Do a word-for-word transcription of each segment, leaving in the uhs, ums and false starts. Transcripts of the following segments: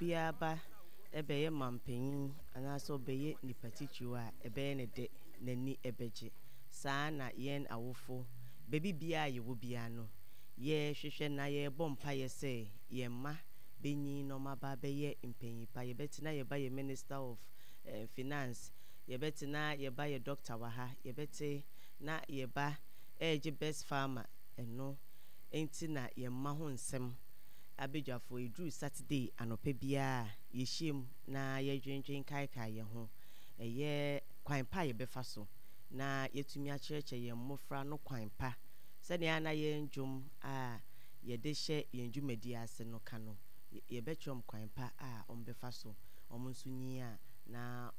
Obiara ba bɛyɛ mampanyin anaasɛ ɔbɛyɛ nipa titiriw a, ɛbɛyɛ ne dɛ, n'ani bɛgye. Saa na yɛn awofo, baabi biara a yɛwɔ biara no, yɛhwehwɛ na yɛrebɔ mpaeɛ sɛ yɛn mma bɛnyin na wɔn aba abɛyɛ mpanyin pa. Yɛbɛte na yɛba yɛ Minister of eh, Finance, yɛbɛte na yɛba yɛ doctor wɔ ha, yɛbɛte na yɛba ɛregye best farmer. Ɛno nti na yɛn mma ho nsɛm abadwafoɔ, ɛduru Saturday anɔpa biara a, yɛhyia na yɛdwendwen kaekae yɛn ho. Ɛyɛ kwan pa a yɛbɛfa so na yɛtumi akyerɛkyerɛ yɛn mmɔfra no kwan pa sɛnea na yɛn dwom a yɛde hyɛ yɛn dwumadi ase no ka no, yɛbɛkyerɛ wɔn kwan pa a wɔbɛfa so wɔn nso nyi a na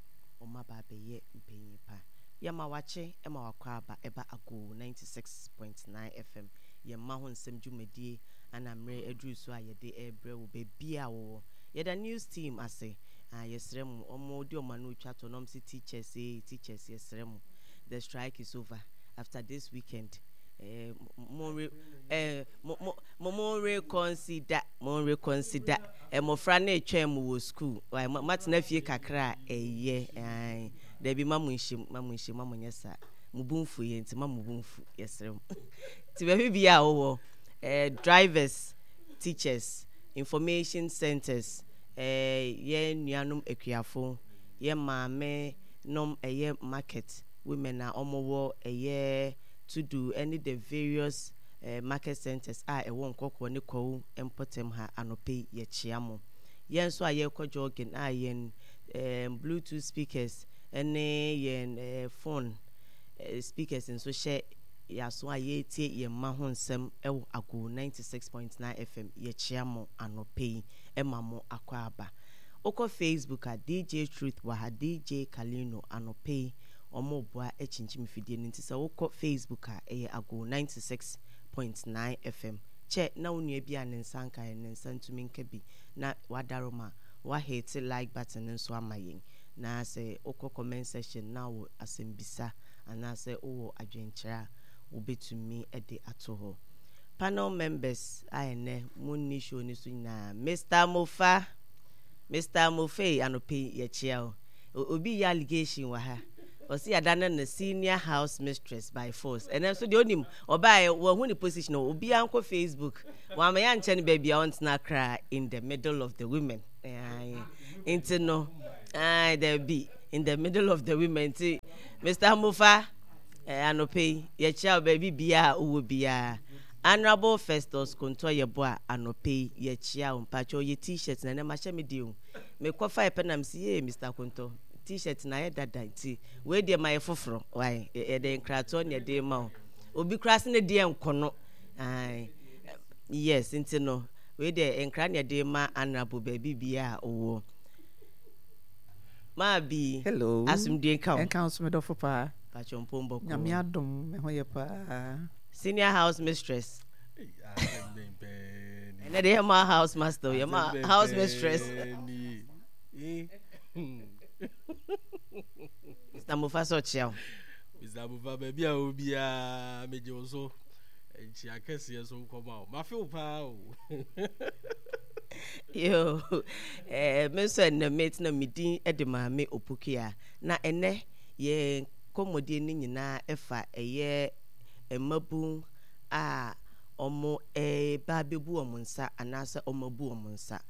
wɔn aba abɛyɛ mpanyin pa. Yɛma wakye ma wakɔ aba ɛba Ago ninety-six point nine F M, yɛn mma ho nsɛm dwumadie ana mmerɛ aduru so a yɛde ɛrebrɛ wo baabi a wɔwɔ. Yɛda news team ase a yɛsrɛ mu ɔmo de ɔmo ano twa to na ɔmo sɛ teachers, ee teachers, yɛsrɛ mu, the strike is over after this weekend. eh, mo re eh, mo mo mo reconsider, mo reconsider. Mmɔfra no retwɛn mo wɔ school, matena fie kakra a ɛyɛ ɛɛ dabi, ma mo nhyɛm, ma mo nhyɛm, ma mo nyɛ saa, mo bu nfu yɛ nti ma mo bu nfu. Yɛsrɛ mo nti baabi bia a wɔwɔ, ɛɛ drivers, teachers, information centers, ɛɛ yɛn nuanom akuafo, yɛn maame nom, ɛyɛ market women a wɔwɔ ɛyɛ Tudu ɛne the various uh, market centers a ɛwɔ Nkɔkɔɔ ne Kwawu mpɔtam ha, anɔpɛ yi yɛkyea mo. Yɛn nso a yɛrekɔ jogging a yɛn um, Bluetooth speakers ne yɛn uh, phone uh, speakers nso hyɛ yɛaso a yɛretie yɛn mma ho nsɛm ɛwɔ Ago ninety-six point nine F M, yɛkyea mo anɔpɛ yi, ɛma mo akɔ aba. Wokɔ Facebook a, D J Truth wɔ ha, D J Kalino anɔpɛ yi wɔn boa akyinkyim fidie no. Nti sɛ wokɔ Facebook a, ɛyɛ Ago ninety-six point nine F M. Kyɛ na wo nua bi a ne nsa nka yɛn, ne nsa ntumi nka bi na wadaroma wahete like button no nso ama yɛn. Na sɛ wokɔ comment section na wɔ asɛmbisa anaasɛ wowɔ adwenkyerɛ a, wobɛtumi de ato hɔ. Panel members a ɛnɛ mo nni show no so nyinaa, Mister Mofa, Mister Mofe, anɔpɛ yi yɛkyia o. Obi yɛ allegation wɔ ha, ɔsi yɛada no senior house mistress by force. Ɛnɛ nso deɛ onim ɔbaa wɔn ne position, obiara nkɔ Facebook wɔn ama yɛankyɛ no baabi a ɔntena koraa, in the middle of the women. Nti no daabi, in the middle of the women. Nti Mister Mofa, anɔpɛ yi yɛkyia wo baabi biara a wowɔ biara. Honourable Festus Konto Yɛbɔ a, anɔpɛ yi yɛkyia wo. Mpakyɛ ɔyɛ T-shirt na ɛnɛ mahyɛ me deɛ o, mekɔfa ɛpɛ nam si yee Mister Konto T-shirt na ayɛ dada, nti wei deɛ ma yɛ foforɔ wae. Yɛde nkratoɔ ne yɛde ma wo. Obi koraa se ne deɛ nkɔ no, yes, nti no wei deɛ nkra ne yɛde ma Honourable baabi biara a ɔwɔ. Maa bi. Hello. Asomdwe nka wo. Nka wo so, medɔfo paa. Pakyɛ mpom bɔkɔ? Nyame adom, me ho yɛ paa. Senior house mistress, ɛnɛ de yɛ ma house master, yɛ ma house mistress Mister Mofa sɛ ɔkyea wo. Mister Mofa, baabi a obiara megye wo so nkyia kɛseɛ so nkɔma wo, mafe wo paa o. Yo, eh, me nso ɛnɛ metena me din de Maame Opokua, na ɛnɛ yɛn kɔmmɔdie no nyinaa ɛfa ɛyɛ mmabun a ɔmo ɛba abɛbu wɔn nsa anaasɛ ɔmo abu wɔn nsa.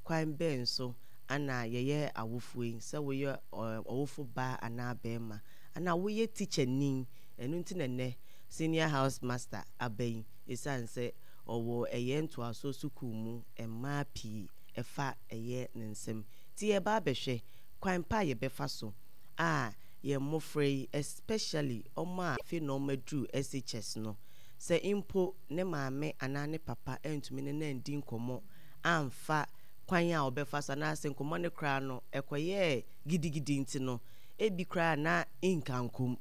Kwan bɛn so ana yɛyɛ awofoɔ yi, sɛ woyɛ ɔwofo baa anaa bɛrima anaa woyɛ teacher ni? Ɛno nti na nnɛ senior house master aba yi, ɛsiane sɛ ɔwɔ ɛyɛ ntoasoɔ sukuu mu mmaa pii ɛfa ɛyɛ ne nsam. Nti yɛba abɛhwɛ kwan pa a yɛbɛfa so a yɛn mmɔfra yi, especially ɔmo a afei na ɔmo aduru S H S no, sɛ mpo ne maame anaa ne papa ntumi ne no andi nkɔmmɔ amfa kwan a ɔbɛfa so anaasɛ nkɔmmɔ no koraa no ɛkɔyɛɛ gidigidi, nti no ebi koraa na nkankom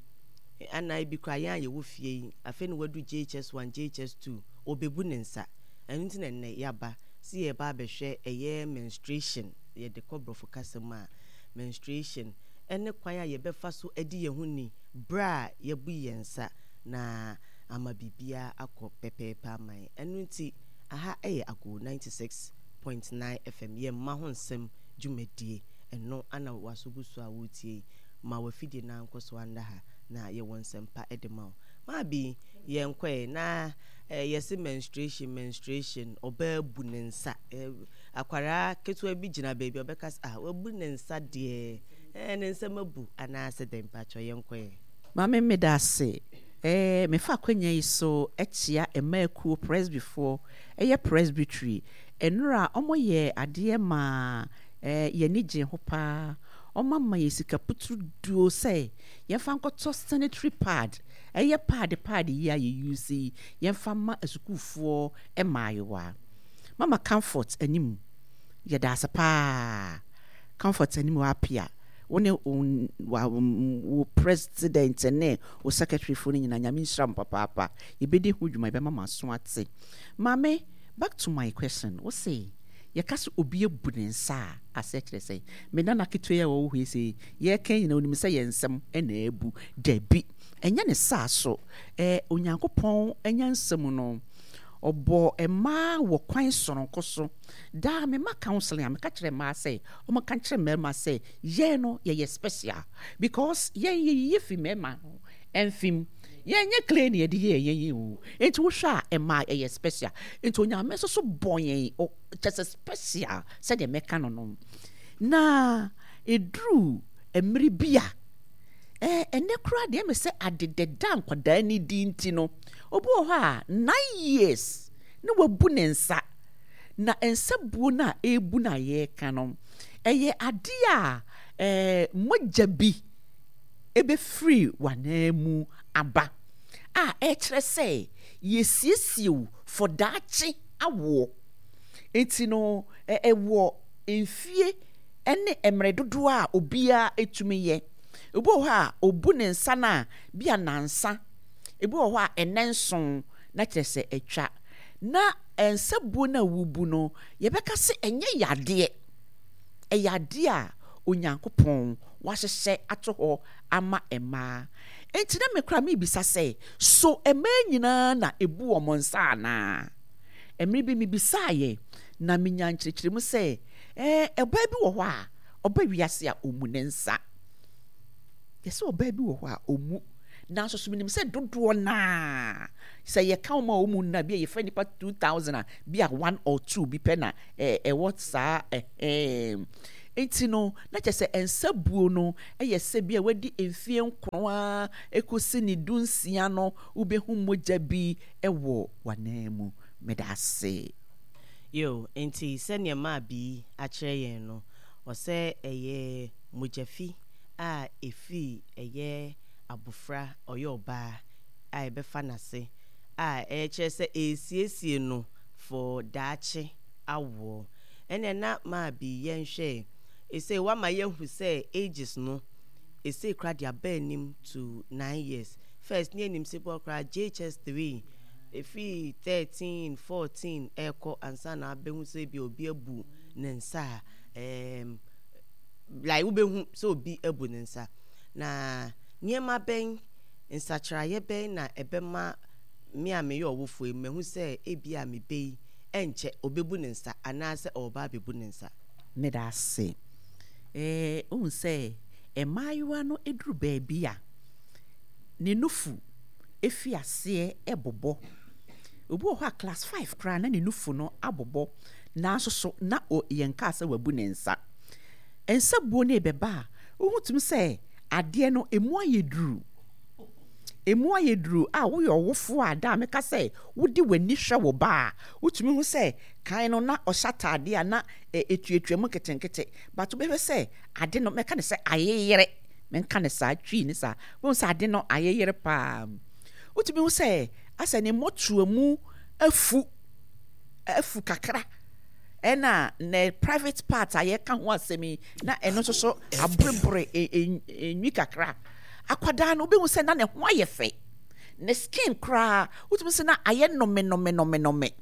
ana ebi koraa yɛn a yɛwɔ fie yi, afei na wadu J H S one, J H S two, ɔbɛbu ne nsa. Ɛno nti na nnɛ yɛaba si yɛba abɛhwɛ ɛyɛ menstruation, yɛde kɔ borɔfo kasa mu a, menstruation, ɛne kwan a yɛbɛfa so adi yɛn ho ni berɛ a yɛbu yɛn nsa na ama biribiara akɔ pɛpɛɛpɛ ama yɛn. Ɛno nti aha ɛyɛ Ago ninety-six point point nine F M. Yɛn mma ho nsɛm dwumadie ɛno ana waso gu so a wotie. Ma wafidie na nkɔ so anda ha na yɛwɔ nsɛmpa de ma wo. Maabi yɛnkɔɛ na eh, yɛse menstruation menstruation ɔbaa bu ne nsa. eh, akwaraa ketewa bi gyina baabi a ɔbɛka sɛ, "Ah, wabu ne nsa deɛ, eh, ne nsɛm abu anaasɛ dɛn?" Mpakyɛ, yɛnkɔɛ. Maame, meda ase. ɛɛ mefa akonnwa yi so akyia mmaakuo presbyfoɔ, ɛyɛ presbytery. Nnora a wɔyɛ adeɛ maa ɛɛ yɛni gye ho paa. Wɔn ama yɛ sika puturu duo sɛ yɛmfa nkɔtɔ sanitary pad, ɛyɛ pad pad yi a yɛ use yi, yɛmfa ma asukuufoɔ mmaayewa. Mama Comfort anim, yɛda ase paa. Comfort anim wɔ apia wo ne wo president ne wo secretary fo no nyinaa, Nyame nhyira mo papaapa. Yɛbɛdi ho dwuma, yɛbɛma mo aso ate. Maame, back to my question. Wo se yɛka sɛ obi abu ne nsa a, asɛ kyerɛ sɛ me nana ketewa yi a wɔwɔ hɔ yi, sɛ yɛka nyina onim sɛ yɛn nsɛm ɛna abu. Dabi, ɛnyɛ ne saa so. ɛɛ Onyankopɔn nyansa mu no, ɔbɔ mmaa wɔ kwan soronko so. Daa mema counseling a, meka kyerɛ mmaa sɛ ɔmo ka kyerɛ mmarima sɛ yɛn no yɛyɛ special because yɛn yɛyiyi fi mmarima no ɛmfim. Yɛnyɛ clay ne yɛde yɛ yɛn yɛn o. Nti wohwɛ a, mmaa yɛyɛ special. Nti Onyame nso so bɔ yɛn o, kyɛ sɛ special sɛdeɛ mɛka no no na eduru mmere bi a ɛɛ ɛnɛ koraa deɛ, ɛmɛ sɛ adedɛda nkwadaa ni di. Nti no obi wɔ hɔ a nine years ne wabu ne nsa. Na nsa buo no a ɛrebu no a yɛreka no, ɛyɛ adeɛ a ɛɛ mogya bi ɛbɛfiri w'anan mu aba a ɛkyerɛ sɛ yɛsiesie wo for daakye awoɔ. Nti no ɛwɔ mfie ne mmerɛ dodoɔ a obiara etumi yɛ. Ebi wɔ hɔ a obu ne nsa no a bi a nansa, ebi wɔ hɔ a ɛnɛ nson na kyerɛ sɛ atwa. Na nsa buo no a wobu no, yɛbɛka sɛ ɛnyɛ yadeɛ, ɛyɛ adeɛ a Onyankopɔn wahyehyɛ ato hɔ ama mmaa. Nti na mekora mebisa sɛ, so mmaa nyinaa na ebu wɔn nsa anaa? Mmerɛ bi mebisaeɛ na menya nkyerɛkyerɛmu sɛ ɛɛ ɔbaa bi wɔ hɔ a ɔba wiase a ɔmu ne nsa. Yɛsɛ ɔbaa bi wɔ hɔ a ɔmu, nanso so menim sɛ dodoɔ naa sɛ yɛka wɔn a wɔmu nna bi a yɛfrɛ nipa two thousand a, bi a one or two bi pɛ na ɛɛ ɛwɔ saa ɛhɛn. Nti no na kyerɛ sɛ nsa buo no yɛ sɛ bi a wadi mfie nkron a ekosi ne du nsia no, wobɛhu mogya bi wɔ w'anan mu. Meda ase. Yo, nti sɛnea maa bi akyerɛ yɛn no, ɔsɛ ɛyɛ mogyafi a ɛfiri ɛyɛ abofra ɔyɛ ɔbaa a ɛbɛfa n'ase a ɛkyerɛ sɛ ɛresiesie no for daakye awoɔ. Ɛnna na maa bi yɛnhwɛ ɛsɛ wama yɛhu sɛ ages no ɛsɛ kora de aba anim to nine years. First ne anim sɛ bɔ koraa J H S three, ɛfiri thirteen fourteen ɛrekɔ ansa na abɛhu sɛ bi obi abu ne nsa a, ɛɛm like wobɛhu sɛ obi abu ne nsa. Na nneɛma bɛn, nsakyerɛeɛ bɛn na ɛbɛma me a meyɛ ɔwofoɔ yi mahu sɛ ebi a mebɛ yi ɛnkyɛ ɔbɛbu ne nsa anaasɛ ɔreba abɛbu ne nsa? Meda ase. ɛɛ ohun sɛ mmaayewa no eduru baabi a ne nufu efi aseɛ ɛbobɔ. Obi wɔ hɔ a class five koraa na ne nufu no abobɔ, nanso so na o yɛn kaa sɛ wabu ne nsa. Nsa buo no ebɛba a, wohu tumi sɛ adeɛ no emu ayɛ duru, emu ayɛ duru a woyɛ ɔwofoɔ a da a meka sɛ wode w'ani hwɛ wo ba a, wotumi hu sɛ kan no na ɔhyɛ ataadeɛ a na etuatua mu nketenkete, but wobɛhwɛ sɛ ade no, mɛka ne sɛ ayeyere, menka ne saa Twi ne saa, wohu sɛ ade no ayeyere paa. Wotumi hu sɛ asɛ ne mmɔtoa mu afu afu kakra, ɛna ne private part a yɛka ho asɛm yi na ɛno nso so aborebore enwi kakra. Akwadaa no, wobɛhu sɛ na ne ho ayɛ fɛ, ne skin koraa wotumi sɛ na ayɛ nnome nnome nnome nnome.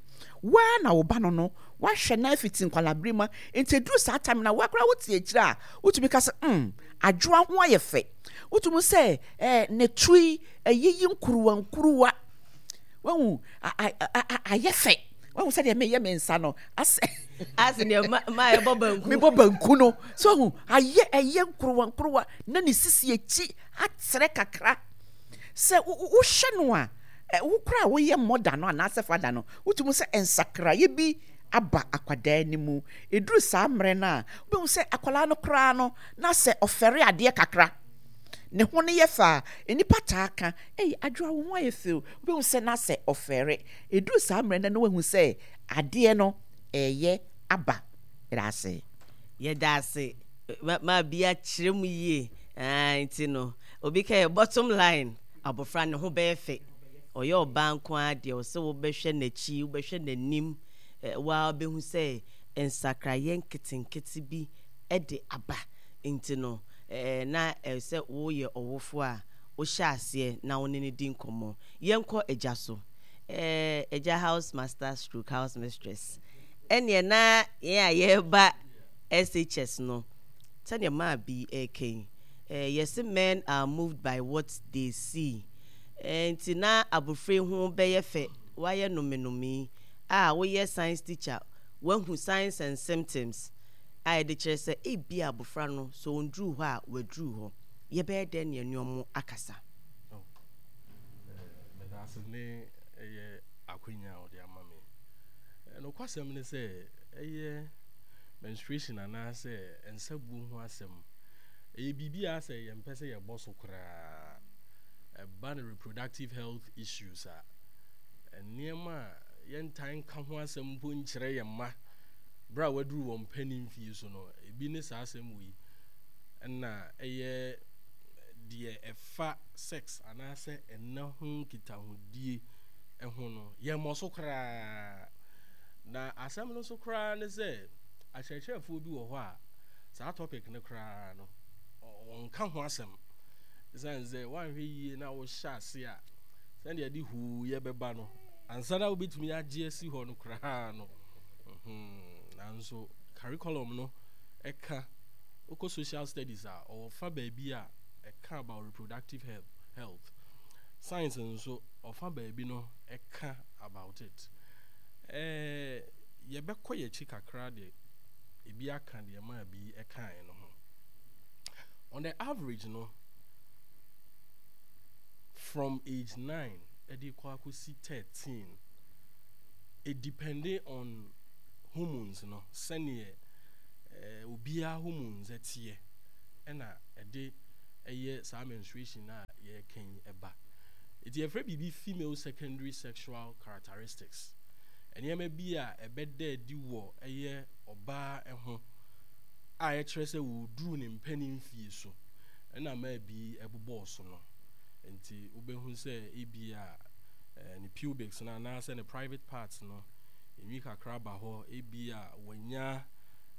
Waa na wo ba no no wahwɛ na afiti nkwalabere mu. Nti eduru saa time na wakora wote akyire a, wotumi ka sɛ mm adwoa ho ayɛ fɛ. Wotumi sɛ ɛɛ ne to yi ɛyiyi nkuruwa nkuruwa, wahu ayɛ fɛ. Wahu sɛdeɛ meyɛ me nsa no asɛ Ase deɛ ma ma yɛbɔ banku. Mebɔ banku no so ahu ayɛ ɛyɛ nkorowa nkorowa na ne sisi akyi atrɛ kakra. Sɛ wohwɛ no a, wo koraa a woyɛ mother no anaasɛ father no, wotumi hu sɛ nsakraeɛ bi aba akwadaa no mu. Ɛduru saa mmerɛ no a, wobɛhu sɛ akwadaa no koraa no, na sɛ ɔfɛre adeɛ kakra, ne ho no yɛ fɛ a, nnipa taa ka, Ei, Adwoa wo ho ayɛ fɛ o. Wobɛhu sɛ na sɛ ɔfɛre. Ɛduru saa mmerɛ no na wahu sɛ adeɛ no reyɛ aba. Meda ase. Yɛda ase ma bi akyerɛ mu yie aah nti no obi ka yɛ bottom line abɔfra ne ho bɛyɛ fɛ ɔyɛ ɔbaa nko ara deɛ ɔsɛ wobɛhwɛ n'akyi wobɛhwɛ n'anim waa wobɛhu sɛ nsakraeɛ nketenkete bi de aba nti no na ɛsɛ woyɛ ɔwofoɔ a wohyɛ aseɛ na wo ne no di nkɔmmɔ. Yɛnkɔ agya so agya house master stroke house mistress ɛneɛ na yɛn a yɛreba S H S no, sɛdeɛ maa bi reka yi, eh, yɛse men are moved by what they see. Eh, nti na abofra yi ho bɛyɛ fɛ, wayɛ nomenomee a woyɛ science teacher, woahu signs and symptoms a ɛde kyerɛ sɛ ebia abofra no sɛ ɔnduruu hɔ a, waduru hɔ. Yɛbɛyɛ dɛn ne yɛne wɔn akasa? Oh, eh, meda ase ne ɛyɛ akwanya a wɔde ama me. Eh, nokwasɛm ne sɛ ɛyɛ menstruation anaasɛ nsabuo ho asɛm, ɛyɛ biribi a sɛ yɛmpɛ sɛ yɛbɔ so koraa. Ɛba no reproductive health issues a, nneɛma a yɛntaa nka ho asɛm mpo nkyerɛ yɛn mma berɛ a wɔaduru wɔn mpanin mfie so no, ebi ne saa asɛm wei. Ɛna ɛyɛ deɛ ɛfa sex anaasɛ ɛna ho nkitahodie ho no, yɛmmɔ so koraa. Na asɛm no nso koraa ne sɛ, akyerɛkyerɛfoɔ bi wɔ hɔ a, saa topic no koraa no, wɔnka ho asɛm. Ɛsiane sɛ woanhwɛ yie na wohyɛ ase a, sɛdeɛ ɛde huuyɛ bɛba no, ansa na wobɛtumi agye asi hɔ no koraa no. Nanso curriculum no ɛka, wokɔ social studies a, ɔwɔ fa baabi a ɛka about reproductive health. Science nso, ɔfa baabi no ɛka about it. Ɛɛ, yɛbɛkɔ yɛn akyi kakra de ebi aka deɛ ɛmaa bi ɛkaeɛ no ho. On the average no, from age nine ɛde kɔ akɔsi thirteen, it depending on hormones no, sɛneɛ ɛɛ obiara hormones ɛteɛ, ɛna ɛde ɛyɛ saa menstruation a yɛreka yi ɛba. Eti yɛfrɛ biribi female secondary sexual characteristics. Nneɛma bi a ɛbɛda adi wɔ ɛyɛ ɔbaa ho a ɛkyerɛ sɛ ɔreduru ne mpanin mfie so ɛna mmaa bi ɛbobɔɔ so no. Nti wobɛhu sɛ ebi a ne pubics no anaasɛ ne private parts no enwi kakra ba hɔ, ebi a wanya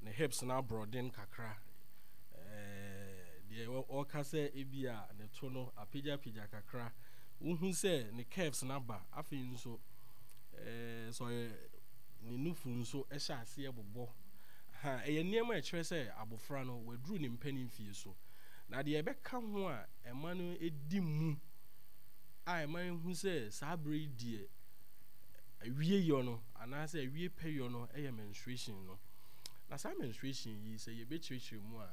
ne hips no aborɔden kakra, deɛ ɔka sɛ ebi a ne to no apagyapagya kakra, wohu sɛ ne curves no aba. Afei nso ɛɛ sɛ ɔyɛ ne nufu nso hyɛ aseɛ bobɔ ha, ɛyɛ nneɛma a ɛkyerɛ sɛ abɔfra no waduru ne mpanin fie so. Na deɛ ɛbɛka ho a ɛma no di mu a ɛma ehu sɛ saa bere yi deɛ awie yɔ no anaasɛ awie pɛyɔ no yɛ menstruation no. Na saa menstruation yi, sɛ yɛbɛkyerɛkyerɛ mu a,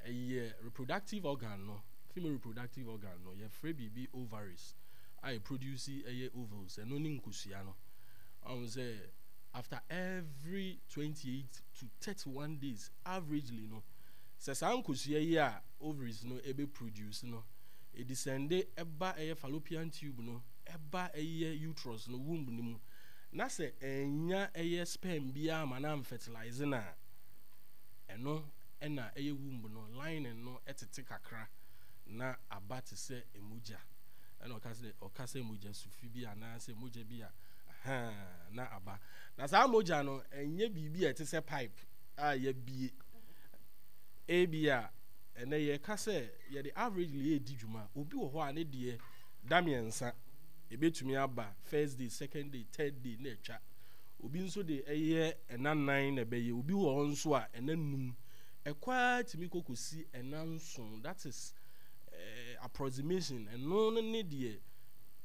ɛyɛ reproductive organ no, female reproductive organ no, yɛfrɛ biribi ovaries a ɛproduce ɛyɛ ovules, ɛno ne nkosua no. Ɔhu sɛ after every twenty-eight to thirty-one days averagely no, sɛ saa nkosua yi a ovaries no ɛbɛ produce no, ɛdescende ɛba ɛyɛ fallopian tube no, ɛba ɛyɛ uterus no, womb no mu, na sɛ ɛnya ɛyɛ sperm biara ma no amfertilize no a, ɛno ɛna ɛyɛ womb no lining no ɛtete kakra na aba te sɛ mogya. Ɛna ɔka sɛ ɔka sɛ mogya sufi bi anaasɛ mogya bi a ahaa na aba. Na saa mogya no ɛnyɛ biribi a ɛte sɛ pipe a yɛabie. Ebi a ɛnɛ yɛka sɛ yɛde averagely edi dwuma. Obi wɔ hɔ a ne deɛ da mmiɛnsa ebetumi aba, first day, second day, third day na atwa. Obi nso de ɛyɛ ɛna nan na ɛbɛyɛ. Obi wɔ hɔ nso a ɛna num. Ɛkɔ ara tumi kɔ kɔsi ɛna nson. That is uh, approximation. Ɛno no ne deɛ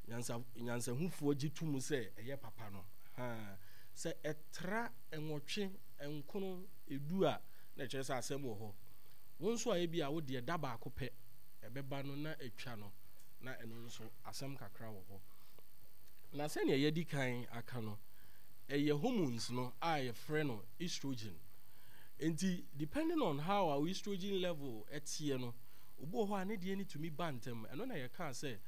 nyansa nyansahufoɔ gye to mu sɛ ɛyɛ papa no. Ha. Sɛ ɛtra nwɔtwe, nkron, edu a, na ɛkyerɛ sɛ asɛm wɔ hɔ. Wo nso a ebi a wo deɛ da baako pɛ ɛbɛba no na atwa no, na ɛno nso asɛm kakra wɔ hɔ. Na sɛnea yɛdi kan aka no, ɛyɛ hormones no a yɛfrɛ no estrogen. Nti depending on how our estrogen level ɛteɛ no, obi wɔ hɔ a ne deɛ no tumi ba ntɛm. Ɛno na yɛka sɛ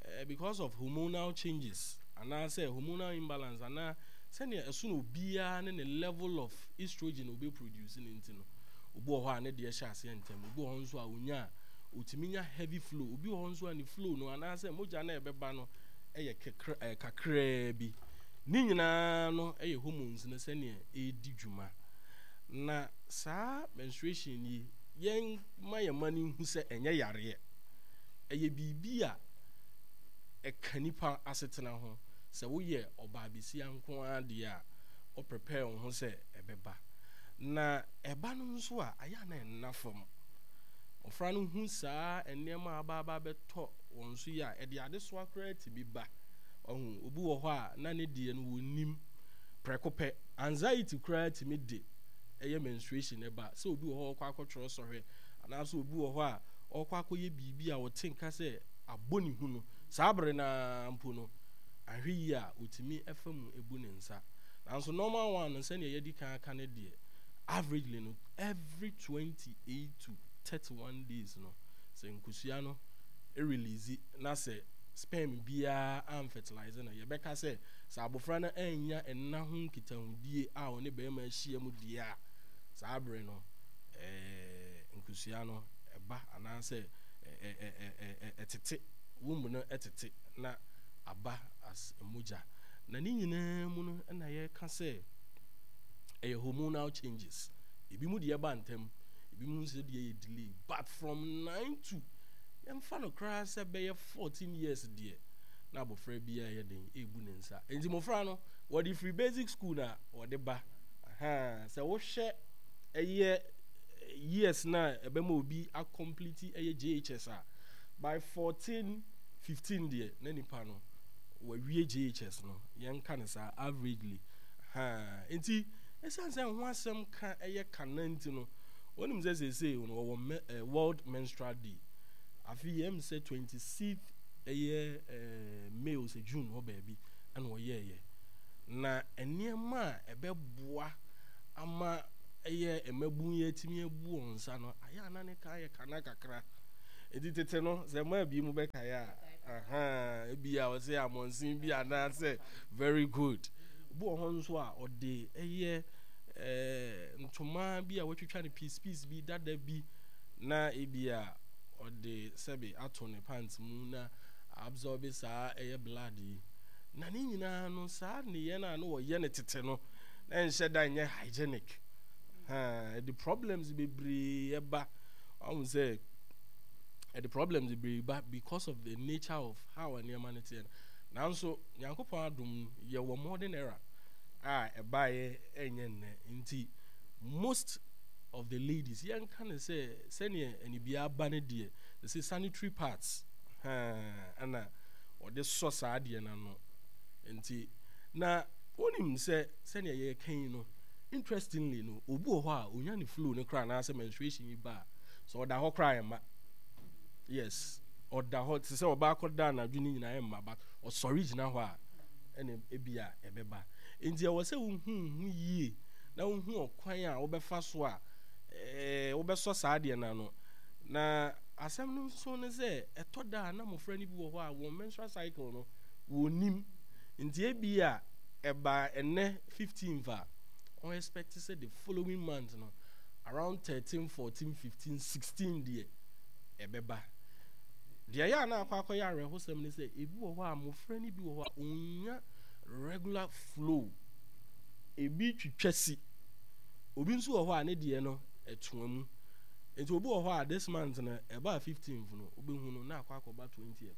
eh, because of hormonal changes anaasɛ hormonal imbalance anaa sɛnea ɛso no obiara ne ne level of estrogen obi produce ne nti no, obi wɔ hɔ a ne deɛ hyɛ aseɛ ntɛm. Obi wɔ hɔ nso a onya a otumi nya heavy flow. Obi wɔ hɔ nso a ne flow no anaasɛ mogya no a ɛbɛba no ɛyɛ kekra ɛyɛ kakraa bi. Ne nyinaa no ɛyɛ hormones no sɛnea ɛredi dwuma. Na saa menstruation yi, yɛn ma yɛn ma no hu sɛ ɛnyɛ yareɛ. Ɛyɛ biribi a ɛka nipa asetena ho. Sɛ woyɛ ɔbaa besia nko ara deɛ a, wo prepare wo ho sɛ ɛbɛba. Na ɛba no nso a, ayɛ a na ɛnna fam. Mmɔfra no hu saa nneɛma a aba aba abɛtɔ wɔn so yi a, ɛde adesoa koraa tumi ba. Ɔho obi wɔ hɔ a na ne deɛ no wɔnnim prɛko pɛ. Anxiety koraa tumi de ɛyɛ menstruation ɛba. Sɛ obi wɔ hɔ a ɔkɔ akɔtwerɛ sɔhwɛ, anaasɛ obi wɔ hɔ a ɔkɔ akɔyɛ biribi a ɔte nka sɛ abɔ ne hu no, saa bere naa mpo no, ahwɛ yie a otumi ɛfa mu ebu ne nsa. Nanso normal one no, sɛnea yɛdi kan aka ne deɛ, averagely no, every twenty eight to thirty one days no, sɛ nkosua no release na sɛ sperm biara amfertilize no, yɛbɛka sɛ sɛ abɔfra no anya nna ho nkitahodie a ɔne bɛrima ahyia mu deɛ a, saa bere no ɛɛ nkosua no ɛba anaasɛ ɛtete womb no, ɛtete na aba as mogya. Na ne nyinaa mu no, ɛna yɛka sɛ ɛyɛ hormonal changes. Ebi mu deɛ ba ntɛm, ebi mu nso deɛ yɛ delay, but from nine to, yɛmfa no koraa sɛ bɛyɛ fourteen years deɛ, na abɔfra biara yɛ den ebu ne nsa. Nti mmɔfra no wɔde firi basic school na wɔde ba. Sɛ wohwɛ ɛyɛ years na ɛbɛma obi acomplete ɛyɛ J H S a, by fourteen fifteen deɛ, na nipa no wawie J H S no. Yɛnka no saa averagely. Nti ɛsiane sɛ ho asɛm ka ɛyɛ kana nti no, wɔnim sɛ seesei no wɔwɔ World Menstrual Day. Afi yɛm sɛ twenty sixth ɛyɛ ɛɛ May o sɛ June hɔ baabi ɛna ɔyɛɛyɛ. Na nneɛma a ɛbɛboa ama ɛyɛ mmabun yi atumi abu wɔn nsa no, ayɛ ana ne ka yɛ kana kakra. Nti tete no, sɛ mmaa bi mu bɛkaeɛ a, ahan ebi a ɔsɛ amɔnsen bi anaasɛ, very good, obi wɔ hɔ nso a ɔde ɛyɛ ɛɛ ntoma bi a wɔatwitwa no piece piece bi dada bi, na ebi a ɔde sɛbe ato ne pants mu na absorb saa ɛyɛ blood yi. Na ne nyinaa no, saa nneyɛ no a na wɔyɛ no tete no, na nhyɛ da nyɛ hygienic. Ɛde problems bebree ɛba. Ɔhu sɛ ɛde problems bebree ba because of the nature of how nneɛma no teɛ no. Nanso Nyankopɔn adom, yɛwɔ modern era a ɛbaeɛ ɛnyɛ nnɛ. Nti most of the ladies, yɛnka ne sɛ sɛneɛ anibia ba no deɛ, sɛ sanitary pads ɛna ɔde sɔ saa adeɛ no ano. Nti na wonim sɛ sɛnea yɛka yi no, interestingly no, obi wɔ hɔ a onya ne flow no koraa anaasɛ menstruation yi ba a, sɛ ɔda hɔ koraa ɛma, yes, ɔda hɔ te sɛ ɔbaa kɔda anadwo no nyinaa ɛmma, but ɔsɔre gyina hɔ a, ɛna ebi a ɛbɛba. Nti ɛwɔ sɛ wohu ho yie na wohu ɔkwan a wobɛfa so a ɛɛ wobɛsɔ saa adeɛ no ano. Na asɛm no nso ne sɛ, ɛtɔ da a na mmɔfra no bi wɔ hɔ a wɔn menstrual cycle no wɔnim. Nti ebi a ɛba ɛnɛ fifteenth a, wɔn expect sɛ the following month no, around thirteen, fourteen, fifteen, sixteen deɛ ɛbɛba. Deɛ ɛyɛ a na akɔ akɔyɛ awerɛhosɛm ne sɛ, ebi wɔ hɔ a mmɔfra no bi wɔ hɔ a ɔnya regular flow, ebi twitwa si. Obi nso wɔ hɔ a ne deɛ no ɛtoa mu. Nti obi wɔ hɔ a this month no ɛbaa fifteenth no, wobɛhu no na akɔ akɔba twentieth.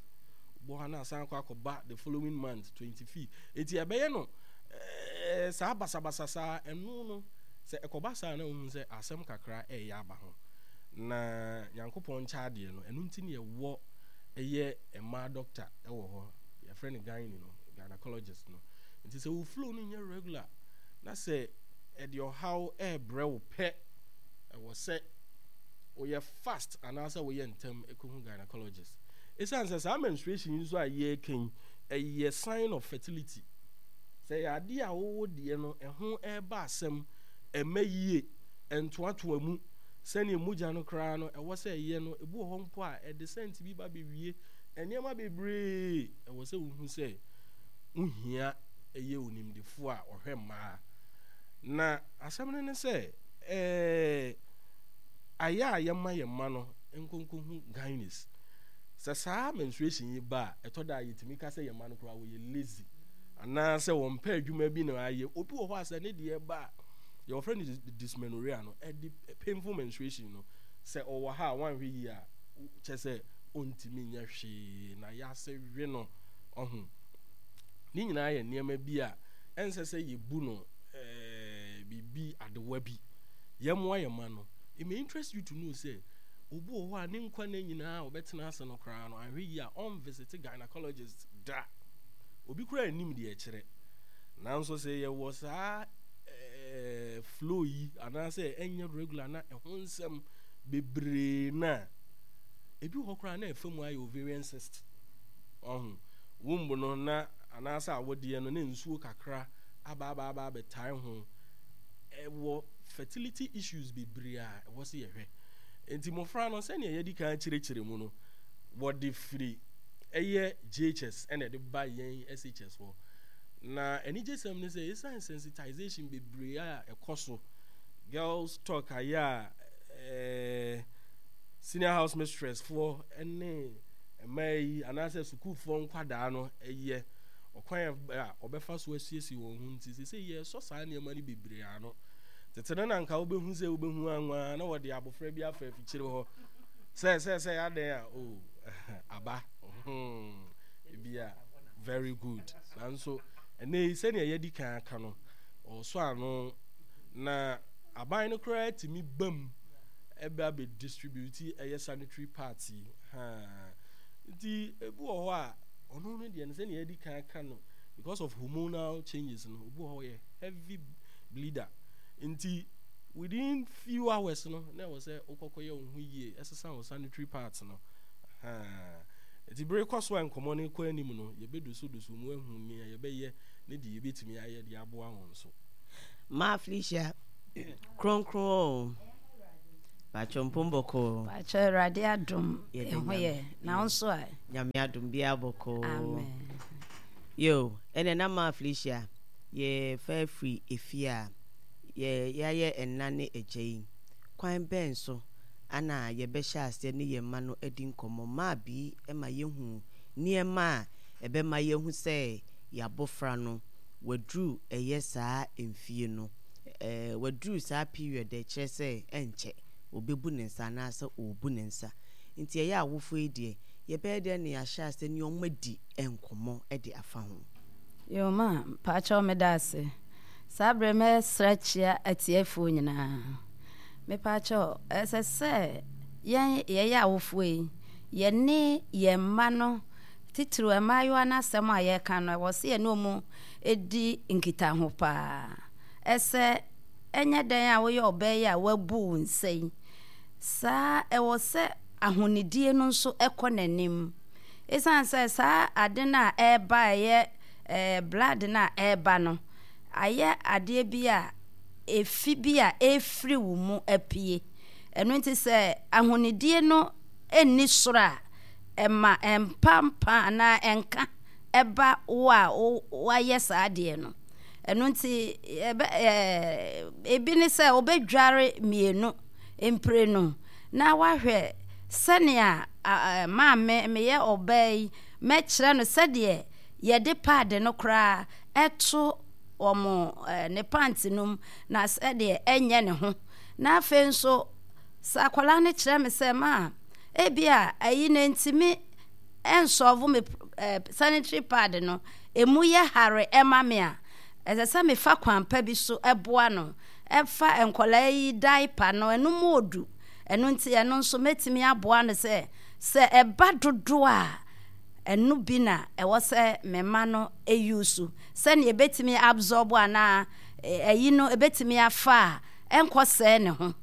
Obi wɔ hɔ a na asan akɔ akɔba the following month twenty fifth. Eti ɛbɛyɛ no ɛɛ saa basabasa saa. Ɛno no, sɛ ɛkɔba saa na ohun sɛ asɛm kakra ɛyɛ aba ho. Na Nyankopɔn nkyɛ adeɛ no, ɛno nti ne ɛwɔ ɛyɛ mmaa doctor ɛwɔ hɔ, yɛfrɛ no gyne no, gynecologist no. Nti sɛ wo flow no nyɛ regular Na sɛ ɛde ɔhaw ɛrebrɛ wo pɛ, ɛwɔ sɛ woyɛ fast anaasɛ woyɛ ntɛm ɛkɔhu gynecologist. Ɛsiane sɛ saa menstruation yi nso a yɛreka yi, ɛyɛ sign of fertility. Sɛ ɛyɛ adeɛ a wowɔ deɛ no ɛho ɛreba asɛm, ɛmɛ yie, ɛntoatoa mu sɛnea mogya no koraa no ɛwɔ sɛ ɛyɛ no, ebi wɔ hɔ mpo a ɛde scent bi ba bɛwie nneɛma bebree, ɛwɔ sɛ wohu sɛ wohia ɛyɛ onimdefoɔ a ɔhwɛ mmaa. Na asɛm no ne sɛ, ɛɛ ayɛ a yɛma yɛn mma no nkonkohu gynes. Sɛ saa menstruation yi ba a, ɛtɔ da a yɛtumi ka sɛ yɛn mma no koraa wɔyɛ lazy anaasɛ wɔmpɛ adwuma bi na ayɛ. Obi wɔ hɔ a sɛ ne deɛ ba a, yɛwɔfrɛ no dysmenorrhea no, ɛde painful menstruation no, sɛ ɔwɔ ha a wanhwɛ yie a, kyɛ sɛ ɔntumi nyɛ hwee na yɛase we no. Ɔho ne nyinaa yɛ nneɛma bi a ɛnsɛ sɛ yɛbu no ɛɛ biribi adewa bi. Yɛmmoa yɛn mma no. It may interest you to know sɛ obi wɔ hɔ a ne nkwa nna nyinaa a ɔbɛtena ase no koraa no, anhwɛ yie a ɔnvisit gynecologist da. Obi koraa nnim deɛ ɛkyerɛ. Nanso sɛ yɛwɔ saa ɛɛ flow yi anaasɛ ɛnyɛ regular na ɛho nsɛm bebree na ebi wɔ hɔ koraa na ɛfa mu ayɛ ovarian cyst. Ɔho womb no na anaasɛ awodeɛ no ne nsuo kakra aba aba aba abɛtae ho. Ɛwɔ fertility issues bebree a ɛwɔ sɛ yɛhwɛ. Nti mmɔfra no, sɛnea yɛdi kan kyerɛkyerɛ mu no, wɔde firi ɛyɛ J H S ɛna ɛde ba yɛn S H S hɔ. Na anigyesɛm ne sɛ, ɛsiane sensitization bebree a ɛkɔ so, girls talk ayɛ a ɛɛ senior house mistress foɔ ne mmaa yi anaasɛ sukuufoɔ nkwadaa no ɛyɛ ɔkwan a ɔbɛfa so asiesie wɔn ho, nti sɛ sɛ yɛsɔ saa nneɛma no bebree ano. Tete no na nka wobɛhu sɛ wobɛhu anwa na wɔde abɔfra bi afa afikyire hɔ sɛ sɛ sɛ adɛn a o aba hmm, ebi a very good. Nanso ɛnɛ yi, sɛnea yɛdi kan aka no, ɔsɔ ano na aban no koraa tumi bam ɛbɛ abɛ distribute ɛyɛ sanitary pads yi haa. Nti ebi wɔ hɔ a ɔno no deɛ no, sɛnea yɛdi kan aka no, because of hormonal changes no, obi wɔ hɔ yɛ heavy bleeder, nti within few hours no na ɛwɔ sɛ wokɔkɔ yɛ wo ho yie, ɛsesa wo sanitary pads no haa. Nti bere kɔ so a nkɔmmɔ no kɔ anim no, yɛbɛdosodoso mu ahu nea yɛbɛyɛ ne deɛ yɛbɛtumi ayɛ de aboa wɔn so. Maa Felicia kronkron o, patwɔ mpom bɔkɔɔ? Patwɔ, Awurade adom. Yɛda ɛho Nyame. Yɛ na wo nso a? Nyame adom, biara bɔkɔɔ. Amen. Yo, ɛnɛ na Maa Felicia yɛfa firi efie a yɛ yɛayɛ ɛna ne agya yi, kwan bɛn so ana yɛbɛhyɛ aseɛ ne yɛn mma no adi nkɔmmɔ? Maa bi ma yɛhu nneɛma a ɛbɛma yɛhu sɛ yɛabɔfra no waduru ɛyɛ saa mfie no, ɛɛ waduru saa period a ɛkyerɛ sɛ ɛnkyɛ obɛbu ne nsa anaasɛ ɔrebu ne nsa. Nti ɛyɛ awofoɔ yi deɛ, yɛbɛyɛ dɛn ne yɛahyɛ aseɛ ne ɔmo adi nkɔmmɔ de afa ho? Yo, ma patwɔ, meda ase. Saa berɛ mɛsrɛ kyia atiefoɔ nyinaa. Mepatwɔ, ɛsɛ sɛ yɛn yɛyɛ awofoɔ yi, yɛne yɛn mma no, titiriw mmaayewa no, asɛm a yɛreka no, ɛwɔ sɛ yɛne ɔmu di nkitaho paa. Ɛsɛ ɛnyɛ dɛn a woyɛ ɔbaa yi a wabu wo nsa yi saa, ɛwɔ sɛ ahonidie no nso ɛkɔ n'anim, ɛsiane sɛ saa ade no a ɛreba, ɛyɛ ɛɛ blood no a ɛreba no, ayɛ adeɛ bi a efi bi a ɛfiri wo mu apue. Ɛno nti sɛ ahonidie no nni soro a, ɛma ɛmpampa anaa ɛnka ɛba wo a wayɛ saa adeɛ no. Ɛno nti ɛbɛ ɛɛ ebi ne sɛ wobɛdware mmienu mprenu na wahwɛ sɛnea maame meyɛ ɔbaa yi, mɛkyerɛ no sɛdeɛ yɛde pad no koraa ɛto wɔn ne pant no mu na sɛdeɛ ɛnyɛ ne ho. Na afei nso sɛ akwadaa no kyerɛ me sɛ, "Maa, ebi a ayi na ntumi ɛnsolve me ɛɛ sanitary pad no emu yɛ hare ɛma me" a, ɛsɛ sɛ mefa kwan pa bi so ɛboa no. Ɛfa nkwadaa yi diaper no, ɛno mu odu. Ɛno nti ɛno nso mɛtumi aboa no sɛ sɛ ɛba dodoɔ a, ɛno bi na ɛwɔ sɛ mɛma no eyi so sɛnea ebɛtumi absorb anaa ɛyi no ɛbɛtumi afa a ɛnkɔ sɛɛ ne ho.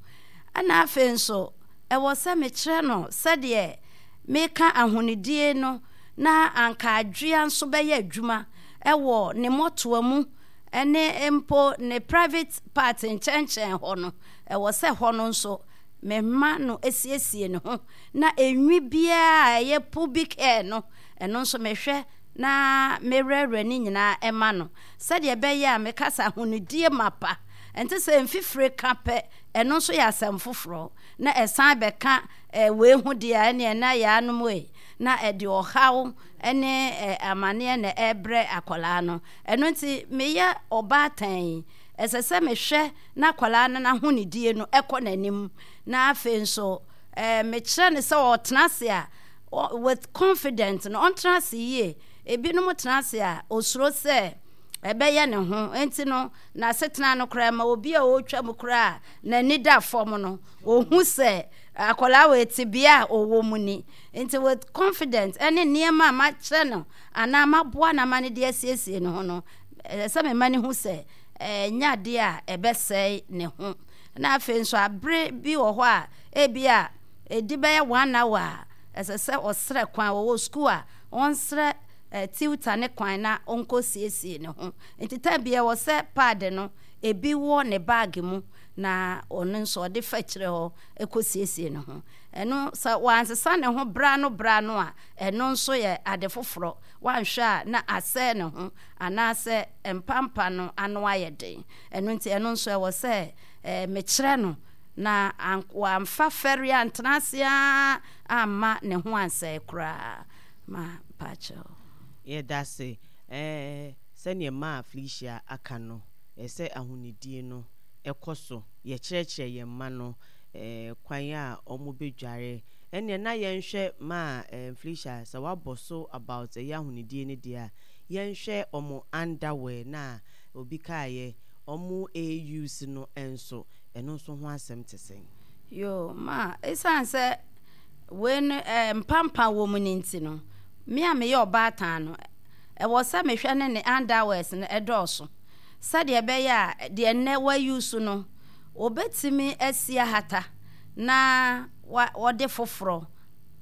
Ɛna afei nso ɛwɔ sɛ mekyerɛ no sɛdeɛ meka ahonidie no na anka adwea nso bɛyɛ adwuma ɛwɔ ne mmɔtoa mu ɛne mpo ne private part nkyɛnkyɛn hɔ no. Ɛwɔ sɛ hɔ no nso mema no esiesie ne ho na enwi biara a ɛyɛ pubic hair no, ɛno nso mehwɛ na mewerɛwerɛ ne nyinaa ɛma no, sɛdeɛ ɛbɛyɛ a meka sɛ ahonidie mapa. Ɛnte sɛ mfifire ka pɛ, ɛno nso yɛ asɛm foforɔ na ɛsan bɛka wei ho deɛ a ɛneɛ na yɛanom ei na ɛde ɔhaw ne amanneɛ na ɛbrɛ akwadaa no. Ɛno nti meyɛ ɔbaatan yi, ɛsɛ sɛ mehwɛ na akwadaa no n'ahonidie no ɛkɔ n'anim, na afei nso ɛɛ mekyerɛ no sɛ ɔtena ase a with confidence no, ɔntena ase yie. Ebinom tena ase a osuro sɛ ɛbɛyɛ ne ho, nti no n'asetena no koraa ma obi a ɔretwa mu koraa n'ani da fam no, ohu sɛ akwadaa wɔ tebea a ɔwɔ mu ni. Nti with confidence ɛne nneɛma a makyerɛ no anaa maboa no ama no de asiesie ne ho no, ɛsɛ sɛ mema ne ho sɛ ɛnyɛ adeɛ a ɛbɛsɛe ne ho. Na afei nso abere bi wɔ hɔ a ebi a ɛdi bɛyɛ one hour a ɛsɛ sɛ ɔsrɛ kwan, wɔwɔ sukuu a ɔnsrɛ tutor ne kwan na ɔnkɔ siesie ne ho. Nti time bi ɛwɔ sɛ pad no ebi wɔ ne bag mu na ɔno nso ɔde fa kyerɛ hɔ ɛkɔ siesie ne ho. Ɛno sɛ wansesa ne ho bra no bra no a, ɛno nso yɛ ade foforɔ. Wanhwɛ a na asɛe ne ho anaasɛ mpampa no ano ayɛ den. Ɛno nti ɛno nso ɛwɔ sɛ ɛɛ mekyerɛ no na wamfa fɛre antena ase a amma ne ho ansɛe koraa. Ma mpakyɛw. Yɛda se ɛɛ sɛneɛ maa Felicia aka no, ɛsɛ ahonidie no ɛkɔ so. Yɛkyerɛkyerɛ yɛn mma no ɛɛ kwan a ɔmo bɛdware. Ɛneɛ na yɛnhwɛ maa ɛɛ Felicia sɛ wabɔ so about ɛyɛ ahonidie no deɛ a, yɛnhwɛ ɔmo underwear na obi kaayɛ ɔmo use no nso, ɛno nso ho asɛm te sɛn? Yo, ma ɛsiane sɛ wei no ɛɛ mpampa wɔ mu ne nti no, me a meyɛ ɔbaatan no, ɛwɔ sɛ mehwɛ ne ne underwears no ɛdɔɔso, sɛdeɛ ɛbɛyɛ a deɛ nnɛ wayi so no, obɛtumi asi ahata na wa wɔde foforɔ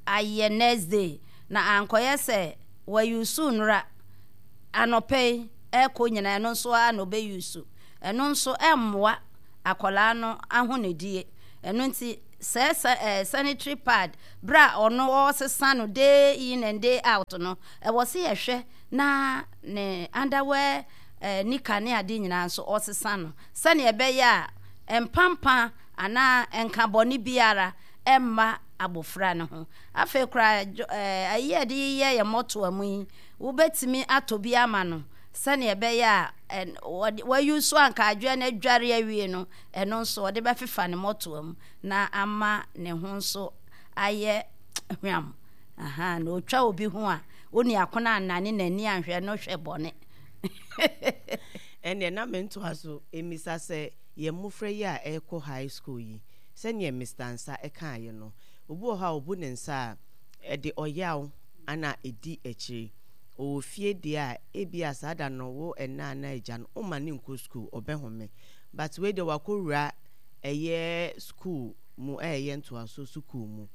ayɛ next day, na ankɔyɛ sɛ wayi so nnora anɔpɛ yi ɛkɔ nyinaa ɛno nso ara na ɔbɛyi so. Ɛno nso ɛmmoa akwadaa no ahonidie. Ɛno nti sɛ sɛ ɛɛ sanitary pad, bere a ɔno ɔresesa no day in and day out no, ɛwɔ sɛ yɛhwɛ na ne underwear, ɛɛ nika ne ade nyinaa nso ɔsesa no, sɛnea ɛbɛyɛ a mpampa anaa nkabɔne biara ɛmma abɔfra no ho. Afei koraa ɛɛ ayi a yɛde yɛ yɛ mmɔtoa mu yi, wobɛtumi atɔ bi ama no sɛnea ɛbɛyɛ a ɛn wɔde wayi so anka adwoa no adware awie no, ɛno nso ɔde bɛfefa ne mmɔtoa mu na ama ne ho nso ayɛ hwam. Aha, na otwa obi ho a oni akono anane n'ani anhwɛ no hwɛ bɔne. Ɛneɛ na mentoa so emisa sɛ yɛn mmɔfra yi a ɛrekɔ high school yi, sɛneɛ Mister Nsa ɛkaeɛ no, obi wɔ hɔ a obu ne nsa a ɛde ɔyaw ana ɛdi akyire. Ɔwɔ fie deɛ a ebi a saa da no wo ɛna ana agya no woma ne nkɔ school, ɔbɛhome, but wei deɛ wakɔwura ɛyɛ school mu, ɛyɛ ntoaso sukuu mu.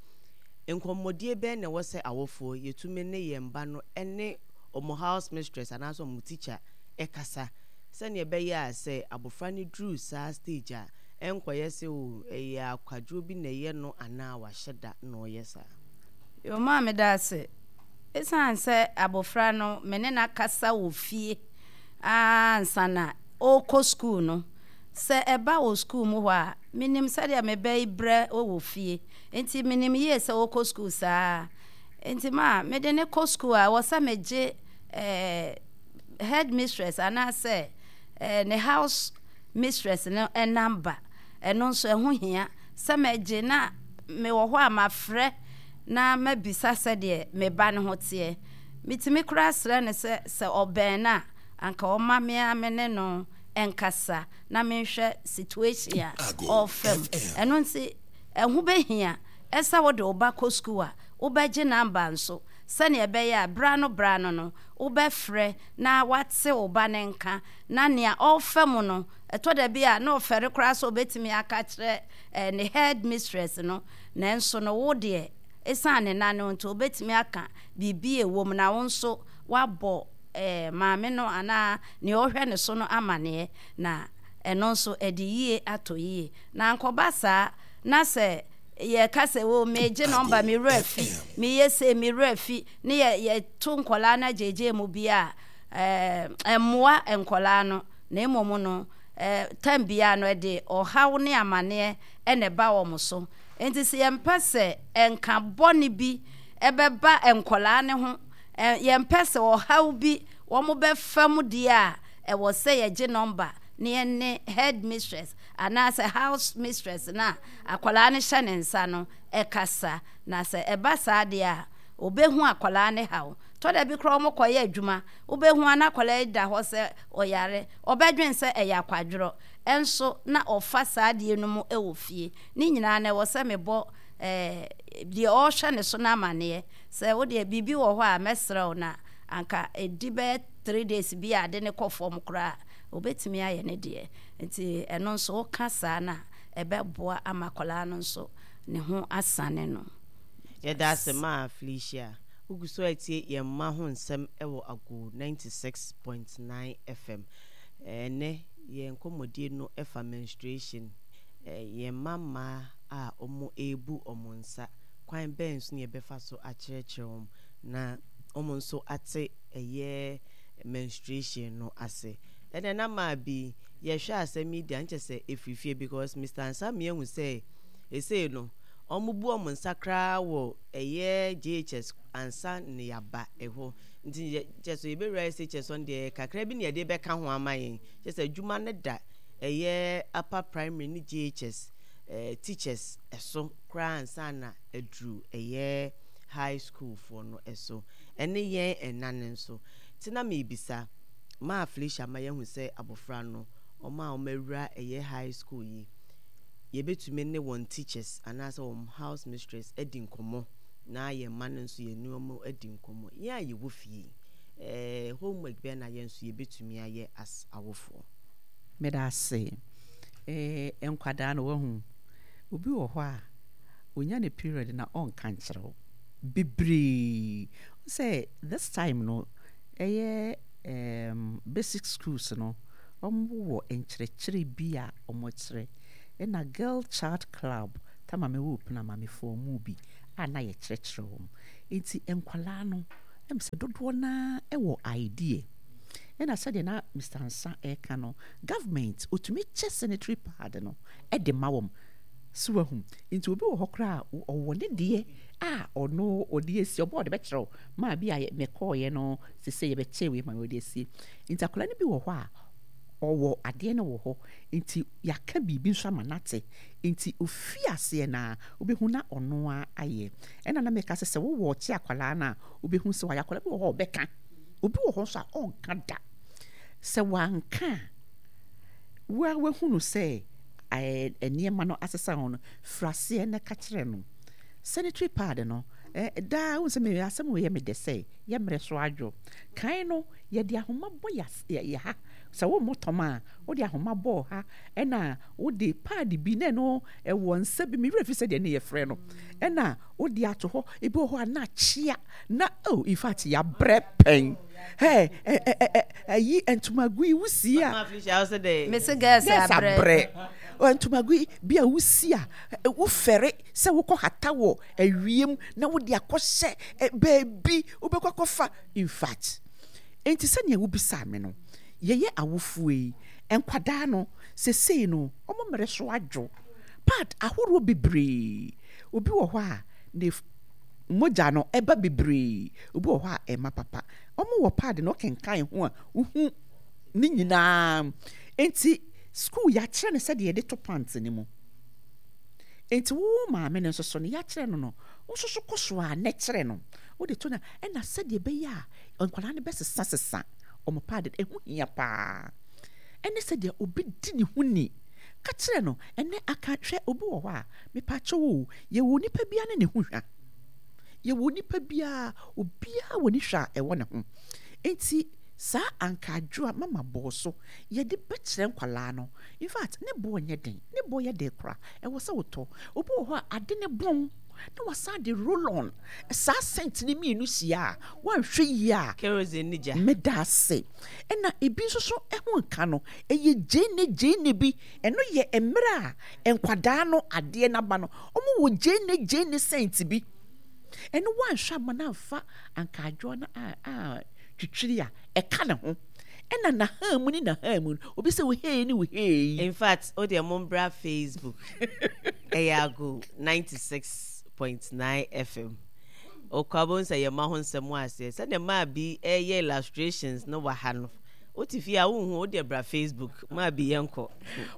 Nkɔmmɔdie bɛn na ɛwɔ sɛ awofoɔ yɛtumi ne yɛn ba no ɛne ɔmo house mistress anaasɛ ɔmo teacher ɛkasa, sɛnea ɛbɛyɛ a sɛ abɔfra no duru saa stage a ɛnkɔyɛ sɛ o ɛyɛ akwadwo bi na ɛyɛ no anaa wahyɛ da na ɔyɛ saa? Yo, maa meda ase. Ɛsiane sɛ abɔfra no me ne no akasa wɔ fie ansa na ɔrekɔ sukuu no, sɛ ɛba wɔ sukuu mu hɔ a, menim sɛdeɛ mebɛyi brɛ wɔ fie, nti menim yie sɛ ɔrekɔ sukuu saa. Nti ma mede ne kɔ sukuu a, ɛwɔ sɛ megye ɛɛ head mistress anaasɛ ɛɛ ne house mistress no number. Ɛno nso ɛho hia sɛ mɛgye na mewɔ hɔ a mafrɛ na mabisa sɛdeɛ me ba no ho teɛ. Metumi koraa srɛ no sɛ sɛ ɔbɛn no a, anka ɔma me a me ne no nkasa na menhwɛ situation a ɔrefa mu. Ɛno nti ɛho bɛhia ɛsɛ wode wo ba kɔ sukuu a, wobɛgye number nso. Sɛnea ɛbɛyɛ a bra no bra no no wobɛfrɛ na wate wo ba ne nka na nea ɔrefa mu no, ɛtɔ da bi a na ɔfɛre koraa sɛ obɛtumi aka kyerɛ eh, ne head mistress no. Nanso no wo deɛ, ɛsiane ne na no nti, wobɛtumi aka biribi a ɛwɔ mu na wo nso woabɔ eh, maame no anaa nea ɔhwɛ ne so no amanneɛ, na ɛno nso ɛde yie atɔ yie. Na nkɔba saa na sɛ yɛka sɛ o megye number, me werɛ fi, meyɛ sei, me werɛ fi, ne yɛ yɛto nkɔlaa no agyegye mu bi a, ɛɛ ɛmmoa nkɔlaa no. Na mmom no, ɛɛ tam biara no ɛde ɔhaw ne amanneɛ ɛna ɛba wɔn so. Nti sɛ yɛmpɛ sɛ nka bɔne bi ɛbɛba nkɔlaa ne ho, ɛ yɛmpɛ sɛ ɔhaw bi wɔn bɛfa mu deɛ a, ɛwɔ sɛ yɛgye number ne yɛne head mistress anaasɛ house mistress na akwadaa no hyɛ ne nsa no ɛkasa. Na sɛ ɛba saa deɛ a, obɛhu akwadaa ne haw. Tɔda bi koraa wɔn kɔyɛ adwuma, wobɛhu ana akwadaa yi da hɔ sɛ ɔyare, ɔbɛdwen sɛ ɛyɛ akwadworɔ, ɛnso na ɔfa saa adeɛ no mu ɛwɔ fie. Ne nyinaa na ɛwɔ sɛ mebɔ ɛɛ deɛ ɔrehwɛ ne so no amanneɛ sɛ wodeɛ biribi wɔ hɔ a, mɛsrɛ wo na anka ɛdi bɛyɛ three days bi a ade ne kɔ fam koraa, obɛtumi ayɛ ne deɛ. Nti ɛno nso woka saa no a, ɛbɛboa ama akwadaa no nso ne ho asane no. Yɛda ase maa Felicia. Wogu so atie yɛn mma ho nsɛm wɔ Ago ninety-six point nine F M. Ɛnɛ yɛn nkɔmmɔdie no fa menstruation, yɛn mma mmaa a wɔn rebu wɔn nsa, kwan bɛn so na yɛbɛfa so akyerɛkyerɛ wɔn na wɔn nso ate ɛyɛ menstruation no ase. Ɛnɛ na maa bi yɛhwɛ asɛm yi deɛ, nkyɛ sɛ ɛfiri fie, because Mister Ansah ehu sɛ esei no wɔn bu wɔn nsa koraa wɔ ɛyɛ J H S ansa ne yaba ɛhɔ. Nti kyɛ sɛ yɛbɛwura S H S no deɛ, kakra bi ne yɛde bɛka ho ama yɛn. Kyɛ sɛ adwuma no da ɛyɛ upper primary ne J H S eh, teachers ɛso koraa ansa na aduru ɛyɛ high school foɔ no ɛso, ɛne yɛn ɛna no nso. Nti na meebisa maa Felicia ma yɛhu sɛ abɔfra no, ɔmo a ɔmo awura ɛyɛ high school yi, yɛbɛtumi ne wɔn teachers anaasɛ wɔn house mistress adi nkɔmmɔ, na yɛn mma no nso yɛne wɔn adi nkɔmmɔ. Yɛn a yɛwɔ fie, ɛɛ homework bɛn na yɛn nso yɛbɛtumi ayɛ as awofoɔ? Meda ase. ɛɛ nkwadaa no, wahu obi wɔ hɔ a onya ne period na ɔnka nkyerɛ wo bebree sɛ this time no ɛyɛ um, basic schools no, wɔn wɔ nkyerɛkyerɛ bi a wɔkyerɛ. Ɛna Girl Child Club tama me wɔ pena maamefoɔ mu bi a na yɛkyerɛkyerɛ wɔn. Nti nkwalaa no ɛm sɛ dodoɔ naa ɛwɔ idea. Ɛna sɛdeɛ na Mister Nsa ɛreka no, government otumi kyɛ sanitary pad no ɛde ma wɔn so wahu. Nti obi wɔ hɔ koraa a ɔwɔ ne deɛ a ɔno ɔde asi ɔbɔ, ɔde bɛkyerɛw maa bi a mɛkɔɔyɛ no sese yɛbɛkyɛ wei ma ɔde asie. Nti akwadaa no bi wɔ hɔ a ɔwɔ adeɛ no wɔ hɔ, nti yɛaka biribi nso ama nate. Nti ofi aseɛ na wobɛhu na ɔno a ayɛ. Ɛna na mɛka sɛ sɛ wowɔ ɔkye akwadaa no a, wobɛhu sɛ wayɛ. Akwadaa bi wɔ hɔ a ɔbɛka, obi wɔ hɔ nso a ɔnka da. Sɛ wanka a, wa wahu no sɛ ɛɛ nneɛma no asesa ho no, firi aseɛ na ka kyerɛ no sanitary pad no. ɛɛ daa wohu sɛ me asɛm wɔ yɛ me dɛ sɛ yɛ mmerɛ so adwo. Kan no yɛde ahoma bɔ yɛ yɛ ha sɛ wo mmɔ tɔm a, wode ahoma bɔɔ ha, ɛna wode pad bi na ɛno ɛwɔ nsa bi, me werɛ fi sɛdeɛ ne yɛfrɛ no, ɛna wode ato hɔ. Ebi wɔ hɔ a na akyea na oh, in fact yɛabrɛ pɛn. Ɛ ɛ ɛ ɛyi ntomago yi wusi a mese girls abrɛ. Abrɛ ntomago yi bi a wusi a, wofɛre sɛ wokɔ hata wɔ awiem na wode akɔhyɛ baabi wobɛkɔ akɔfa. In fact, nti sɛnea wobisa me no, yɛyɛ awofoɔ yi, nkwadaa no sesei no ɔmo mmerɛ so adwo, pad ahoroɔ bebree. Obi wɔ hɔ a ne mogya no ɛba bebree, obi wɔ hɔ a ɛma papa. Ɔmo wɔ pad no ɔkenkan ho a wohu ne nyinaa. Nti school yɛakyerɛ no sɛdeɛ yɛde to pant ne mu. Nti wo maame no nso so no, yɛakyerɛ no no wo nso so kɔ so a ne kyerɛ no wode to no. Ɛna sɛdeɛ ɛbɛyɛ a nkwadaa no bɛsesa sesa ɔmo pad, ɛho hia paa. Ɛne sɛdeɛ obi di ne ho ni ka kyerɛ no. Ɛnɛ aka hwɛ, obi wɔ hɔ a mepakyɛw o, yɛwɔ nipa bia ne ne ho hwa. Yɛwɔ nipa biara, obiara wɔ ne hwɛ a ɛwɔ ne ho. Enti saa ankaadwo a mama bɔɔ so yɛde bɛkyerɛ nkwalaa no. In fact, ne boɔ nyɛ den, ne boɔ yɛ den koraa. Ɛwɔ sɛ wotɔ. Obi wɔ hɔ a ade ne bɔn na wasan de roll on. Saa scent ne mmienu hyia a, wanhwɛ yie a, Kerosene ne gya. Meda ase. Ɛna ebi nso so ɛho nka no, ɛyɛ gyeene gyeene bi. Ɛno yɛ mmerɛ a nkwadaa no adeɛ n'aba no, wɔn wɔ gyeene gyeene scent bi. Ɛno wanhwɛ ama no amfa ankaadwoa no a a twitwiri a ɛka ne ho. Ɛna n'ahan mu ne n'ahan mu no, obi sɛ wo hei ne wo hei. In fact, o deɛ mombra Facebook. Ɛyɛ Ago ninety-six point nine F M. Okɔ abom sɛ yɛma ho nsɛm wɔ aseɛ. Sɛdeɛ maa bi ɛyɛ illustrations no wɔ ha no. Wote fie a wonhu, wo deɛ bra Facebook. Maa bi yɛnkɔ.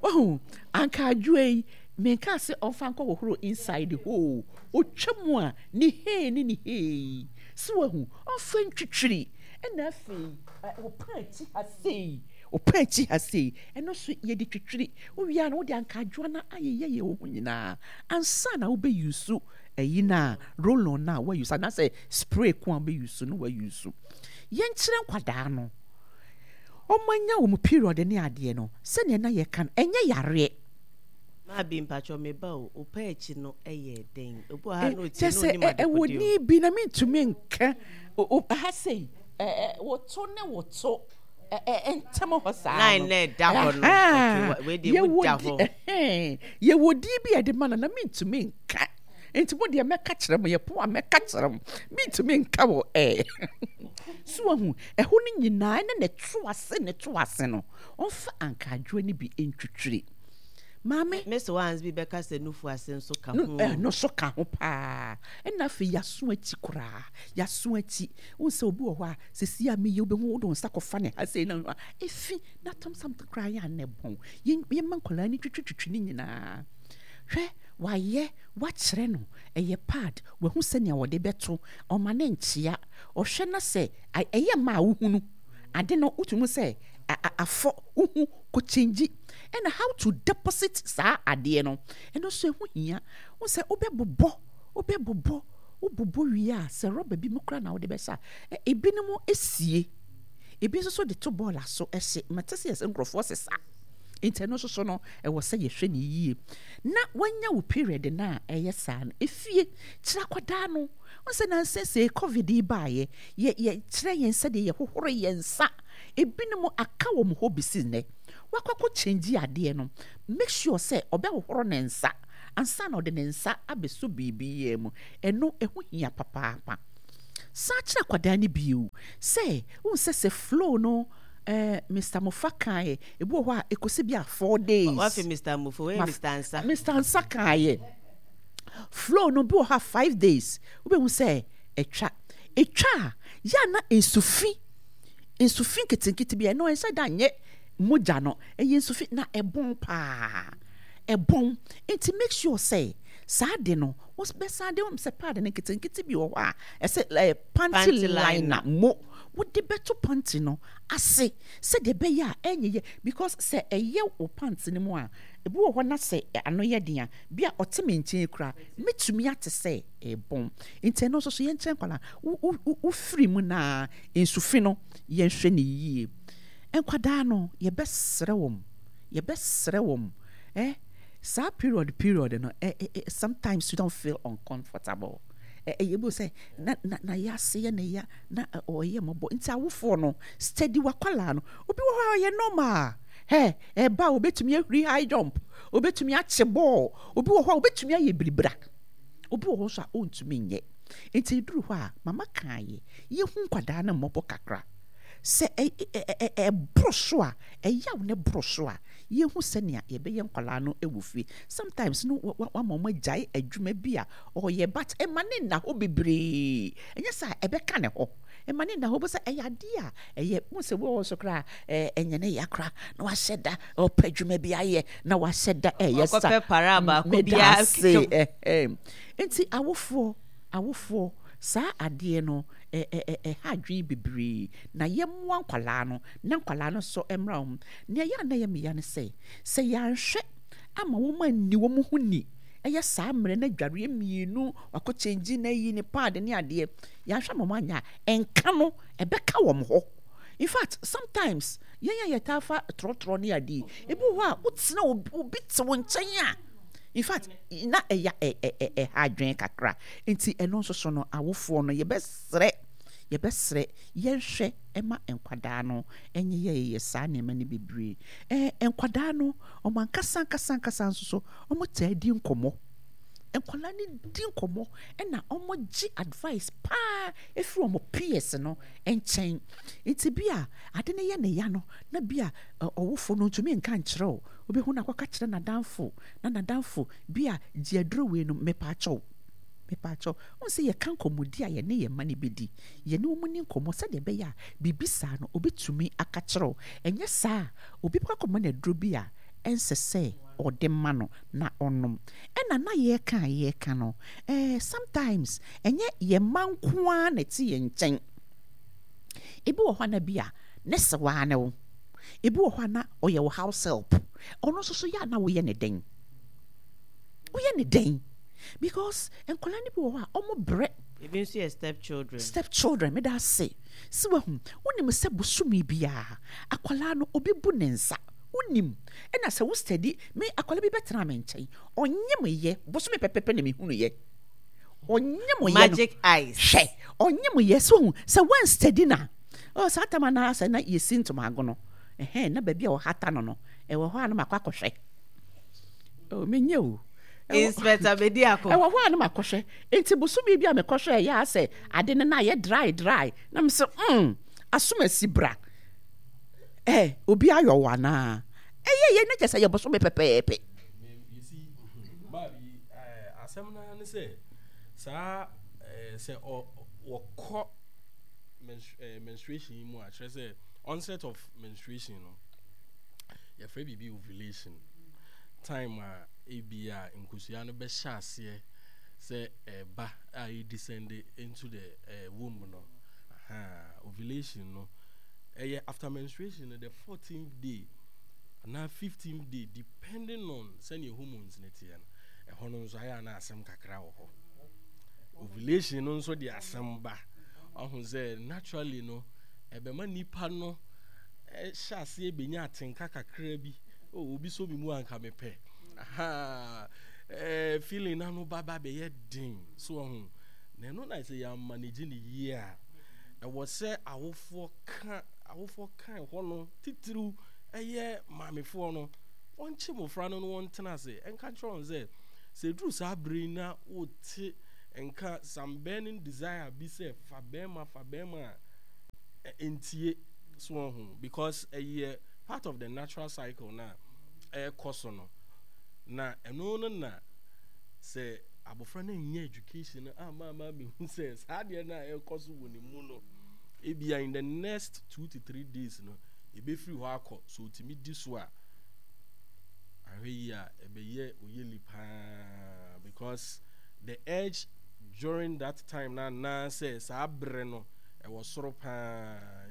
Wahu ankaadwoa yi, menka sɛ ɔmfa nkɔ hohoro inside hɔ. Otwa mu a ne hei ne ne hei si wahu, ɔmfa ntwitwiri. Ɛna afei ɔpa akyi ha sei, ɔpa akyi ha sei, ɛno nso yɛde twitwiri. Wowie a na wode ankaadwoa no ayeyɛyɛ wo ho nyinaa ansa na wobɛuse ɛyi no a roll on no a woause anaasɛ spray ko a wobɛuse no woause. Yɛnkyerɛ nkwadaa no ɔmo anya wɔn period ne adeɛ no sɛnea na yɛka no, ɛnyɛ yareɛ. Maa bi mpatwɔ me ba o, ɔpa akyi no ɛyɛ den. Obi wɔ ha na otie kyɛ na sɛ onim ɛ- ɛwɔ adekodeɛ o. ni bi na mentumi nka O- o- ha sei ɛ- ɛ, woto ne woto ɛ- ɛ- ntɛm hɔ saa Line no. na ɛda hɔ no. Ɛhɛn. Okay, wa- wei deɛ mu Yɛwɔ da di- hɔ. ɛhɛn. Yɛwɔ din bi a yɛde ma no na mentumi nka, nti mo deɛ mɛka kyerɛ mo, yɛpo a mɛka kyerɛ mo, mentumi nka wɔ ɛɛ so wahu ɛhɔ no nyinaa ɛne ne to ase ne to ase no, ɔmfa ankaadwoa no bi ntwitwiri maame. Miss Wans bi bɛka sɛ nufu ase nso ka no ho. Ɛno so ka ho paa. Ɛna afei yaso akyi koraa, yaso akyi wohu sɛ obi wɔ hɔ a sɛsi a meyɛ wobɛhu wode wo nsa kɔfa ne ha sei na a ɛfi na tam sam koraa yɛ anɛ bɔn. Yɛn- yɛma nkwadaa no twitwitwitwi ne nyinaa. Hwɛ, wayɛ wakyerɛ no ɛyɛ pad, wahu sɛnea wɔde bɛto ɔma ne nkyea. Ɔhwɛ na sɛ a- ɛyɛ ma a wohunu ade no, wotumi sɛ a- a- afɔ wohu kɔkyɛngyi. Ɛna how to deposit saa adeɛ no, ɛno nso ɛho hia wo sɛ wobɛbobɔ wobɛbobɔ wobobɔ wie a, sɛ rɔba bi mu koraa na wode bɛhyɛ a, ɛ- ebinom esie, ebi nso so de to bɔɔla so ɛhye. Mate sɛ yɛsɛ nkurɔfoɔ sesa, nti ɛno nso so no ɛwɔ sɛ yɛhwɛ ne yie. Na wanya wo period no a ɛyɛ saa no, efie kyerɛ akwadaa no wɔn sɛ nansa sɛ COVID yi baayɛ, yɛ yɛkyerɛ yɛn sɛdeɛ yɛhohoro yɛn nsa. Ebinom aka wɔn hɔ besi nnɛ. Wakɔ akɔ change adeɛ no, make sure sɛ ɔbɛhohoro ne nsa ansa na ɔde ne nsa abɛso biribi yɛ mu. Ɛno ɛho hia papaapa. San kyerɛ akwadaa no bio sɛ wohu sɛ sɛ flow no, eh, Mister Mofa kaeɛ, ebi wɔ hɔ a ɛkɔsi bi a four days. Wafi Mister Mufo, wei Ma- Mister Ansa. Mister Nsa kaeɛ, flow no bi wɔ hɔ a five days, wobɛhu sɛ ɛtwa ɛtwa a yɛ na nsufi nsufi nketenkete bi a ɛno ɛnhyɛ da nyɛ mogya no, ɛyɛ nsufi na ɛbɔn paa, ɛbɔn. Nti make sure sɛ saa de no wobɛsan de wɔn sɛ pad no nketenkete bi wɔ hɔ a ɛsɛ ɛɛ panty Panty liner mo wode bɛto panty no ase sɛdeɛ ɛbɛyɛ a ɛnyɛ yɛ, because sɛ ɛyɛ wo pant no mu a, ebi wɔ hɔ na sɛ ano yɛ den a, bi a ɔte me nkyɛn kura mɛtumi ate sɛ ɛbɔn. Nti ɛno nso so yɛnkyɛn nkwadaa wo wo wo wofiri mu na nsufi no, yɛnhwɛ ne yie. Nkwadaa no, yɛbɛsrɛ wɔn, yɛbɛsrɛ wɔn eh saa period period no, eh, eh, eh, sometimes you don't feel uncomfortable. Ɛ ɛyɛ bi sɛ na na na yɛase yɛ ne ya na ɛ, ɔyɛ mmɔbɔ. Nti awofoɔ no, steady wakwalaa no. Obi wɔ hɔ a ɔyɛ normal hɛ, ɛba a obetumi ahuri high jump, obetumi akye bɔɔl. Obi wɔ hɔ a obetumi ayɛ biribira, obi wɔ hɔ nso a ɔntumi nyɛ. Nti eduru hɔ a mama kan yɛ yɛhu nkwadaa no mmɔbɔ kakra sɛ ɛ ɛ ɛ ɛ ɛboro so a, ɛyaw ne boro so a, yɛhu sɛnea yɛbɛyɛ nkwadaa no wɔ fie. Sometimes no wa wa wama wɔn agyae adwuma bi a ɔyɛ, but ɛma ne nna hɔ bebree. Ɛnyɛ sɛ ɛbɛka ne hɔ, ɛma ne nna hɔ bɛ sɛ ɛyɛ adeɛ a ɛyɛ mo sɛ wɔwɔ so koraa ɛɛ ɛnyɛ ne ya koraa na wahyɛ da ɔpɛ adwuma bi ayɛ na wahyɛ da ɛyɛ sa. Ɔkɔpɛ para baako meda biara ase. Ɛhɛn, nti awofoɔ awofoɔ saa adeɛ no ɛ ɛ ɛ ɛha adwene bebree na yɛmmoa nkwalaa no na nkwalaa no nso mmra wɔn. Nea ɛyɛ a na ɛyɛ meya ne sɛ sɛ yɛanhwɛ ama wɔn anni wɔn ho ni Ɛyɛ saa mmerɛ na adwareɛ mmienu, wakɔ change na ayi ne pad ne adeɛ. Yɛanhwɛ ama wɔn anyɛ a, ɛnka no ɛbɛka wɔn hɔ. In fact, sometimes yɛn a yɛtaa fa trɔtrɔ ne adeɛ yi, ebi wɔ hɔ a wotena obi, obi te wo nkyɛn a, in fact na ɛya ɛ ɛ ɛ ɛha adwene kakra. Nti ɛno nso so no, awofoɔ no, yɛbɛsrɛ yɛbɛsrɛ yɛnhwɛ ɛma nkwadaa no ɛnyɛ yɛyɛ saa nneɛma no bebree. Ɛɛ nkwadaa no, wɔn ankasa ankasa ankasa nso so, wɔn taa di nkɔmmɔ. Nkwadaa no di nkɔmmɔ ɛna wɔn gye advice paa efiri wɔn peers no nkyɛn. Nti bi a ade no yɛ ne ya no, na bi a ɔwofo no ntumi nka nkyerɛ wo, wobɛhu no akɔka kyerɛ n'adamfo, na n'adamfo bi a gye aduro wei no. Mepaakyɛw, mepaakyɛw, wɔn sɛ yɛka nkɔmmɔdi a yɛne yɛn mma no bɛdi, yɛne wɔn ni nkɔmmɔ sɛdeɛ ɛbɛyɛ a biribi saa no obɛtumi aka kyerɛ wo. Ɛnyɛ saa a, obi bɛkɔ akɔma no aduro bi a ɛnsɛ sɛ ɔde ma no na ɔnom. Ɛna na yɛreka a yɛreka no, ɛɛ sometimes ɛnyɛ yɛn mma nko ara na ɛte yɛn nkyɛn. Ebi wɔ hɔ a na bi a ne sewaa ne wo, ebi wɔ hɔ a na ɔyɛ wo house help. Ɔno nso so yɛ a na woyɛ ne den, woyɛ ne den, because nkwadaa no bi wɔ hɔ a ɔmo brɛ. Ebi nso yɛ step children. Step children, meda ase. Si wahu, wonim sɛ bosome biara akwadaa no obi bu ne nsa, wonim. Ɛna sɛ wo study me, akwadaa bi bɛtena me nkyɛn, ɔnye me yɛ bosome pɛpɛpɛ na mehunu yɛ ɔnye mo yɛ no. Magic eyes. Hwɛ, ɔnye mo yɛ so hu sɛ wɔn study na ɔ saa tam anaa sɛ na yɛsi ntomago no ɛhɛn na baabi a ɔhata no no ɛwɔ hɔ a na makɔ akɔhwɛ. Oh, menyɛ o. Inspector Bediako. Ɛwɔ hɔ a na makɔhwɛ. Nti bosome bi a mekɔhwɛ, ɛyɛ asɛ ade no na ayɛ dry dry, na me sɛ mm asom asi bra ɛ obi ayɔ wɔ anaa ɛyɛ yɛ ne kyɛ sɛ yɛ bosome pɛpɛɛpɛ. Yɛsi baabi asɛm no ne sɛ saa sɛ wɔkɔ menstruation yi mu a, kyerɛ sɛ onset of menstruation no, yɛfrɛ biribi ovulation time a, ebi a nkosua no bɛhyɛ aseɛ sɛ ɛba a ɛ descend into the uh, womb no. Aha, ovulation no ɛyɛ after menstruation no, the fourteenth day anaa fifteenth day, depending on sɛnea hormones ne teɛ no. Ɛhɔ no nso ayɛ ana asɛm kakra wɔ hɔ. Ovulation no nso de asɛm ba. Ɔho sɛ naturally no, ɛbɛma nipa no ɛhyɛ aseɛ bɛnya atenka kakra bi. Oh, obi so mi mu anka mepɛ. Aha, ɛɛ feeling na no ba ba bɛyɛ den so. Ɔho na ɛno na sɛ yɛ manage ne yie a, ɛwɔ sɛ awofoɔ ka awofoɔ ka ɛhɔ no titiriw, ɛyɛ maamefoɔ no, wɔnkye mmɔfra no no wɔntena ase ɛnka kyerɛ wɔn sɛ sɛ eduru saa bere yi na wote nka some burning desire bi sɛ fa bɛrima, fa bɛrima a, ntie so. Ɔho because ɛyɛ part of the natural cycle na ɛrekɔ so no, na ɛno no na sɛ abɔfra no nyɛ education no ama ama mehu sɛ saa adeɛ no a ɛrekɔ so wɔ ne mu no, ebia in the next two to three days no ebɛfiri hɔ akɔ so. Otumi di so a, ahwɛ yi a ɛbɛyɛ oyeli paa, because the urge during that time na anaasɛ saa bere no ɛwɔ soro paa.